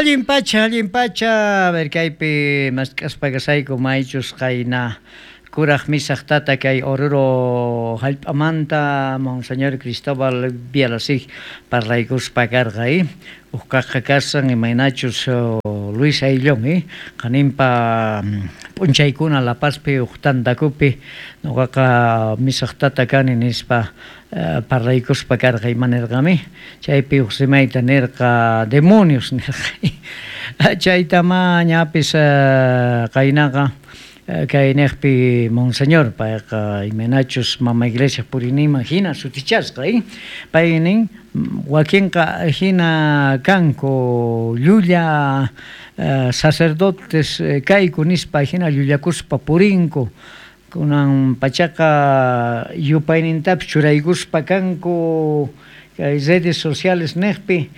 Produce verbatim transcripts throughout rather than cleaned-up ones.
Allin pacha, allin pacha, a ver kaypi mask'aspa kasayku maychus qayna kuraj misaj tata kay Oruro hallp'amanta Monseñor Cristóbal Bialasig parlaykuspa karqa, eh? Uqkaqqa kasan imaynachus Luis Ayllón, eh? Qaninpa p'unchaykuna La Pazpi uq tantakupi nuqaqa misaj tata kani nispa parlaykuspa karqa ima nirqami chaypi uq rimayta nirqa demonios nirqa chaytama ñapis qaynaqa kay niqpi Monseñor payqa imaynachus mama iglesia puriyninman hina sutichasqa, eh? Pay nin wakinqa hina kanku llulla sacerdotes kayku nispa hina llullakuspa purinku kunan pachaqa yupaynintapis churaykuspa kanku kay redes sociales niqpi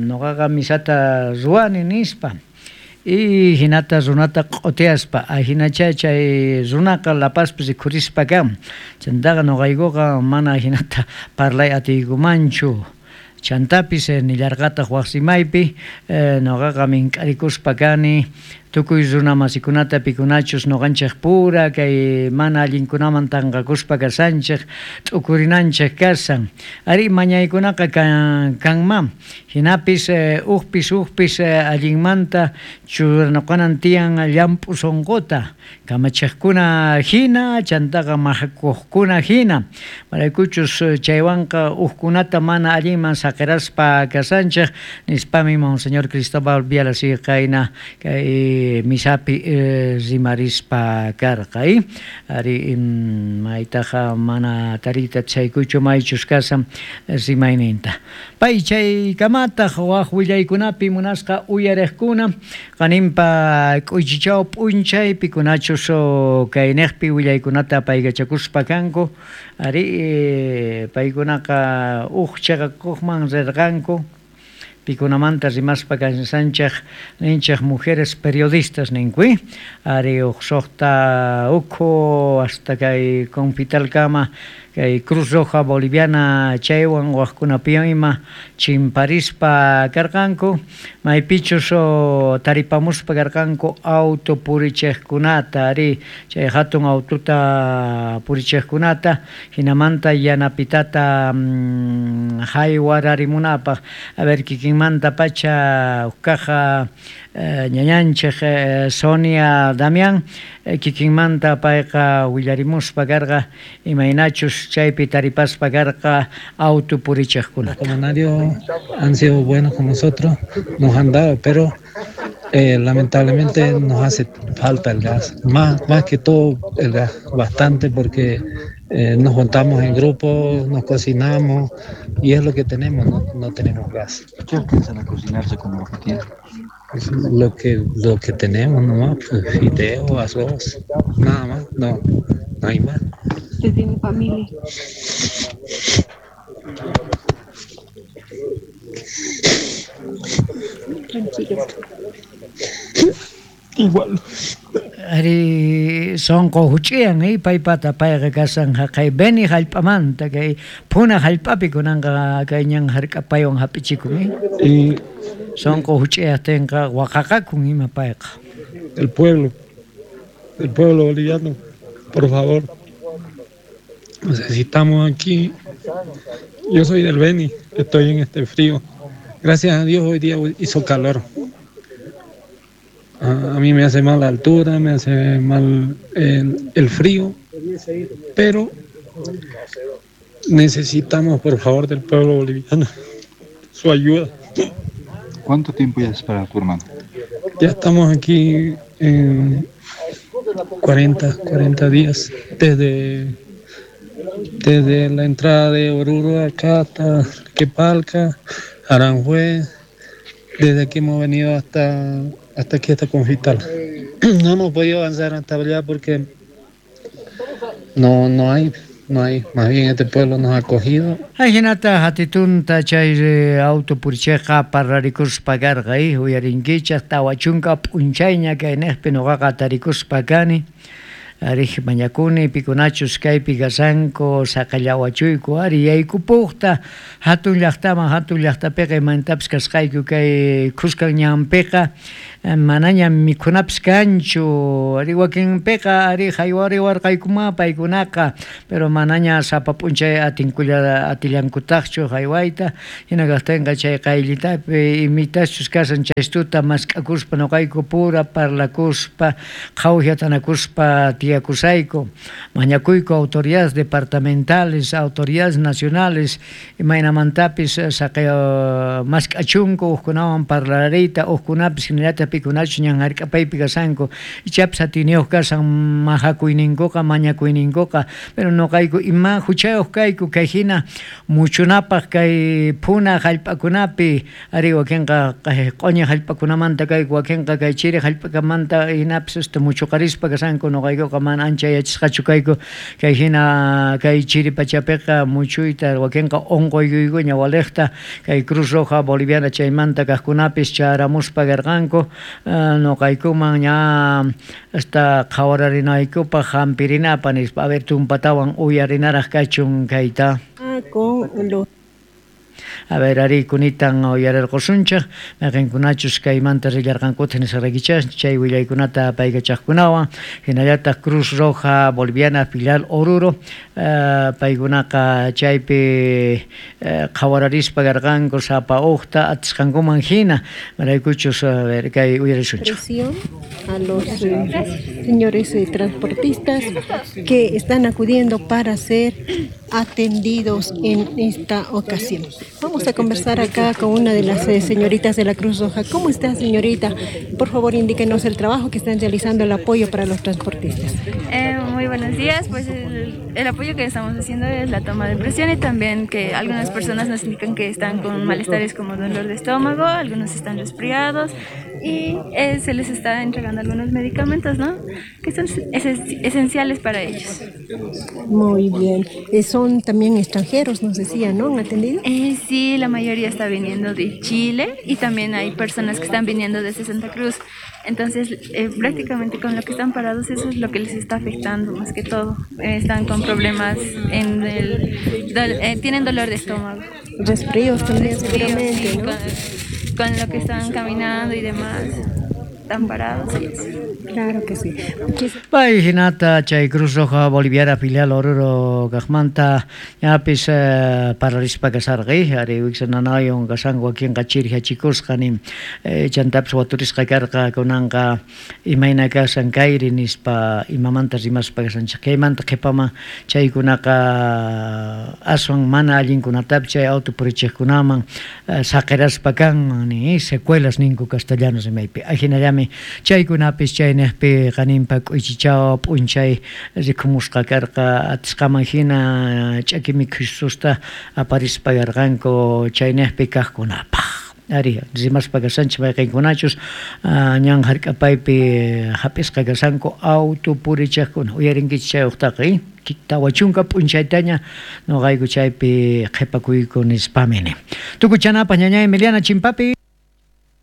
nuqaqa misata ruwani nispa y hinata runata q'utiyaspa ahinacha chay runaqa La Pazpi rikhurispa kan chantaqa nuqaykuqa mana hinata parlay atiykumanchu chantapis nillarqataq waq rimaypi nuqaqa mink'arikuspa kani tukuy runa masikunata pikunachus nuqanchik pura kay mana allinkunaman tanqakuspa kasanchik t'ukurinanchik kasan ari mañaykunaqa kanman hinapis uqpis uqpis allinmanta churanakunan tiyan llamp'u sunquta kamachiqkuna hina chantaqa mahakuqkuna hina maraykuchus chaywanqa uqkunata mana allinman saqiraspa kasanchik nispami Monseñor Cristóbal Bialasig qayna kay misapi rimarispa karqa, eh? Ari maytaqa mana tariyta chaykuchu maychus kasan rimayninta pay chaykamataq waq willaykunapi munasqa uyariqkuna qaninpa k'uychichaw p'unchay pikunachus kayniqpi willaykunata paykachakuspa kanku ari paykunaqa uq chiqakuqman rirqanku pikunamanta rimaspa kansanchik ninchik mujeres periodistas ninku, eh? Ari uq suqta ukhu hasta kay Confitalkama kay Cruz Roja Boliviana chaywan waqkunapiwan ima chimparispa karqanku maypichus taripamuspa karqanku auto purichiqkunata ari chay hatun autota purichiqkunata hinamanta yanapitata haywararimunapaq a ver kikinmanta pacha uqkaqa ñañanchik Sonia Damián kikinmanta payqa willarimuspa karqa imaynachus chaypi taripaspa karqa auto purichiqkunata. Los comunarios han sido buenos con nosotros, nos han dado, pero eh, lamentablemente nos hace falta el gas, más, más que todo el gas, bastante porque eh, nos juntamos en grupos, nos cocinamos y es lo que tenemos, no, no tenemos gas. ¿Qué alcanzan a cocinarse con lo que tienen? Lo que, lo que tenemos nomás, pues, fideo, arroz, nada más, no, no hay más. ¿Usted tiene familia? Tranquilo. Igual. Ari sonqo huch'iyan, eh, paypata payqa kasan haqay Beni hallp'amanta kay Puna hallp'api kunanqa kay ñan hark'apaywan hap'ichikun, eh. Y sonqo huch'iyaqtinqa waqaqakun ima payqa. El pueblo, el pueblo boliviano, por favor. Necesitamos aquí. Yo soy del Beni, estoy en este frío. Gracias a Dios hoy día hizo calor. A mí me hace mal la altura, me hace mal el, el frío, pero necesitamos, por favor, del pueblo boliviano su ayuda. ¿Cuánto tiempo ya espera tu hermano? Ya estamos aquí en cuarenta, cuarenta días, desde, desde la entrada de Oruro acá hasta Quepalca, Aranjuez, desde aquí hemos venido hasta, hasta aquí, hasta Confital. No hemos podido avanzar hasta allá porque no, no hay, no hay. Más bien este pueblo nos ha acogido. Ajinata hatitunta chay auto puricheqa parrarikuspa karqa, uyarinkichaq tawa chunka p'unchayña kay niqpi nuqaqa tarikuspa kani. Arij mañakuni pikunachus kaypi kashanku saqallawachuyku ari yaykupujta hatun llaqtaman hatun llaqtapiqa imantapis kasqayku kay khuskan ñanpiqa manaña mikhunapis kanchu ari wakinpiqa ari haywariwarqaykuma paykunaqa pero manaña sapa p'unchay atinkulla atillankutaqchu haywayta hina kaqtinqa chay qayllitapi imitachus kashan chaystuta mask'akuspa nuqayku pura parlakuspa qhawjatanakuspa tiyakusayku mañakuyku autoridades departamentales autoridades nacionales imaynamantapis saqi mask'achunku hukkunawan parlariyta hukkunapis hinallataq pikunachus ñan hark'apaypi kashanku ichapis atiniyuq kashan mahakuyninkuqa mañakuyninkuqa pero nuqayku ima huchayuq kayku kay hina muchunapaq kay phuna hallp'akunapi ari wakinqa q'uñi hallp'akunamanta kayku wakinqa kay chiri hallp'akamanta hinapis este muchuqarispa kashanku nuqaykuqa mana ancha yachasqachu kayku kay hina kay chiri pachapiqa muchuyta wakinqa unquykuykuña waliqta kay Cruz Roja Boliviana chaymanta kaqkunapis charamuspa karqanku nuqaykuman ña hasta qhawararinaykupaq hampirinapaq nispa a ver tumpatawan uyarinaraq kachun kayta con los A ver, ari kunitan uyarirqusunchik mayqinkunachus kaymanta rillarqankuta nisqaraykichas chay willaykunata paykachaqkunawan hinallataq Cruz Roja Boliviana filial Oruro paykunaqa chaypi qhawararispa karqanku sapa uqta atisqankuman hina maraykuchus a ver kay uyarisunchik. A los eh, señores eh, transportistas que están acudiendo para ser atendidos en esta ocasión. Vamos a conversar acá con una de las eh, señoritas de la Cruz Roja. ¿Cómo está, señorita? Por favor, indíquenos el trabajo que están realizando, el apoyo para los transportistas. Eh, muy buenos días. Pues el, el apoyo que estamos haciendo es la toma de presión y también que algunas personas nos indican que están con malestares como dolor de estómago, algunos están resfriados y eh, se les está entregando algunos medicamentos, ¿no? Que son esenciales para ellos. Muy bien. Eh, son también extranjeros, nos decía, ¿no? ¿Han atendido? Eh, sí, la mayoría está viniendo de Chile y también hay personas que están viniendo desde Santa Cruz. Entonces, eh, prácticamente con lo que están parados, eso es lo que les está afectando más que todo. Eh, están con problemas en el... Do, eh, tienen dolor de estómago. Resfríos también, Resfríos, seguramente, sí, ¿no? Con, con lo que están caminando y demás. Están parados y eso. Claro que sí. Pay hinata chay Cruz Roja Boliviana filial Oruro kaqmanta ñapis parlarispa kasarqi ari wiksananayon kashanku wakinqa chirhiachikusqa nin chantapis waturisqa karqa kunanqa imayna kashan kayri nispa imamanta rimaspa kashanchik kaymanta qhipaman chaykunaqa aswan mana allinkunatapis chay auto purichiqkunaman saqiraspa kanman ni secuelas ninku castellano rimaypi ajinallami chaykunapis chayniqpi qaninpa k'uychichaw p'unchay rikumusqa karqa atisqaman hina ch'aki mikhususta aparispa karqanku chayniqpi kaqkunapaq. Ari rimaspa kashanchik mayqinkunachus ñan hark'apaypi hap'isqa kashanku auto purichiqkuna uyarinkichik chay uqtaqa tawa chunka p'unchaytaña nuqayku chaypi qhipakuyku nispamini. Tukuchanapaq ñañay Emiliana Chimpapi.